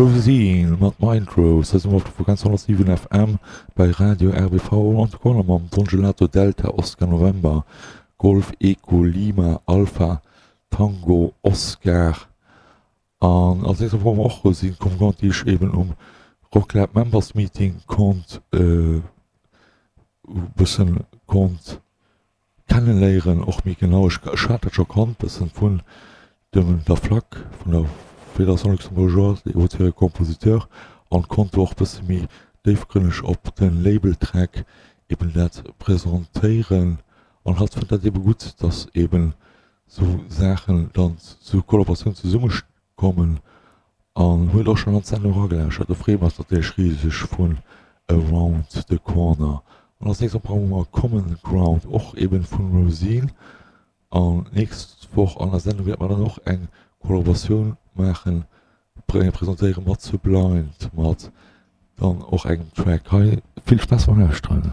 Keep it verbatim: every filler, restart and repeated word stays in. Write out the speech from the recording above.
Rosine mat Mindrose. Hei si mer op der Frequenz honnertsiwen F M bei Radio R B V Around the Corner mam Don Gelato Delta Oscar November Golf Echo Lima Alpha Tango Oscar. An als nächst brauche mer och Rosine Konkurrent, déi ech eben um Rocklab Members Meeting konnt e bëssen konnt kenneléieren, och méi genau. Ech ech hat dat scho kannt bëssen vun dem der FLAC, vun der Fédération Luxembourgeoise des Auteurs et Compositeurs, an konnt do och bësse méi déifgrënneg op de Label-Track eben dat presentéieren. An hatt fënnt dat ebe gutt, dass eben sou Saachen dann zu Kollaboratioun zesummekommen, an huet och schonn an d'Sendung eragelauschert. Do freeë mer eis natierlech riseg vun Around the Corner. An als nächst brauche mer Common Ground, och eben vun Rosine. An nächst Woch an der Sendung wäerte mer dann och eng Kollaboratioun maachen, presentéiere mat Sublind, mat dann och engem Track. Hei vill Spaass beim Lauschteren.